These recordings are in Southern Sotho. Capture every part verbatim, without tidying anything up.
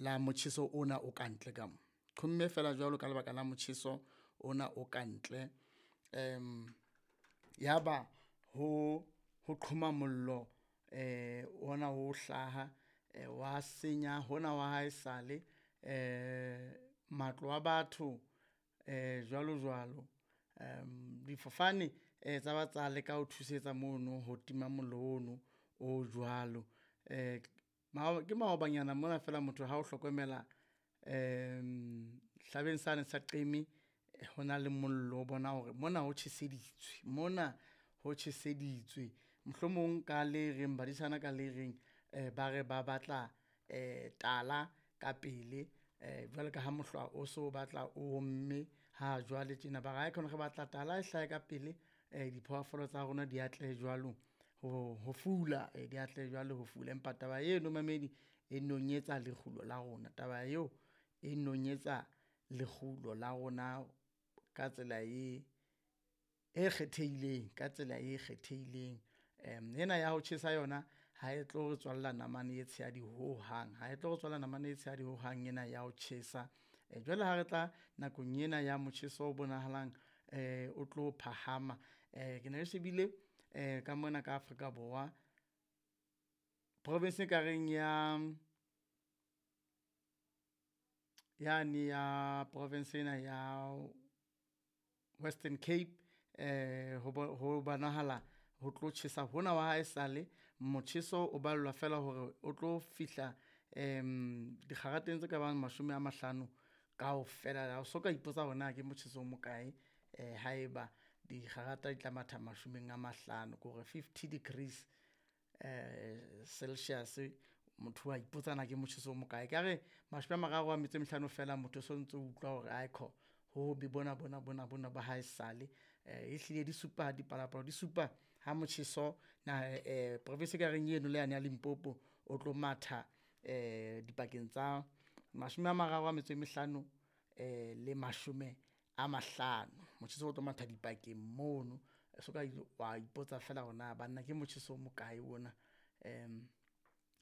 la motjheso ona o kantle ka mo. Qhomme feela jwalo ka lebaka la motjheso ona o kantle. Yaba ho ho qhoma mollo ona o hlaha wa senya hona wa haesale matlo a batho jwalo jwalo. Difofane tsa ba tsa leka ho thusetsa mono ho tima mollo ono o jwalo. Ke maobanyana mona feela motho ha o hlokomela hlabeng sane sa Qeme hona le mollo o bona hore mona ho tjheseditswe, mona ho tjheseditswe. Mohlomong ka le reng badisana ka le reng ba re ba batla tala ka pele jwalo ka ha mohlwa o so batla o omme ha jwale tjena. Ba re aikhona re batla tala e hlahe ka pele diphoofolo tsa rona di atlehe jwalo ho ho fula, di atlehe jwalo ho fula. Empa taba eno momamedi e nonyetsa lekgulo la rona, taba eo e nonyetsa lekgulo la rona ka tsela e, e kgethehileng, ka tsela e kgethehileng. Ena ya ho tjhesa yona ha e tlo re tswalla namane e tshehadi hohang, ha e tlo re tswalla namane e tshehadi hohang ena ya ho tjhesa. Jwale ha re tla nakong ena ya motjheso o bonahalang o tlo phahama, ke ne ke shebile ka mona ka Afrika Borwa province ekareng ya, yane ya province ena ya Western Cape ho ho bonahala ho tlo tjhesa hona wa haesale. Motjheso o ballwa feela hore o tlo fihla dikgarateng tse kabang mashome a mahlano kaofela. Ha o soka ipotsa hore na ke motjheso o mokae haeba dikgarata di tla matha mashome a mahlano ke hore fifty degrees Celsius. Motho wa ipotsa na ke motjheso o mokae. Ekare mashome a mararo a metso e mehlano fela motho o sontso o utlwa hore aikhona ho hobe bona bona bona bona ba haesale. Ehlile di supa dipalopalo di supa ha motjheso province ekareng eno le yane ya Limpopo o tlo matha dipakeng tsa mashome a mararo a metso e mehlano le mashome a mahlano. Motjheso o tlo matha dipakeng mono, o soka wa ipotsa feela hore na banna ke motjheso o mokae ona.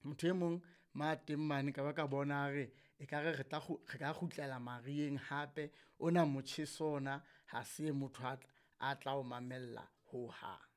Motho e mong ma teng mane ka ba ka bona a re ekare re tla re ka kgutlela mariheng hape ona motjheso ona ha se motho a a tla o mamella hohang.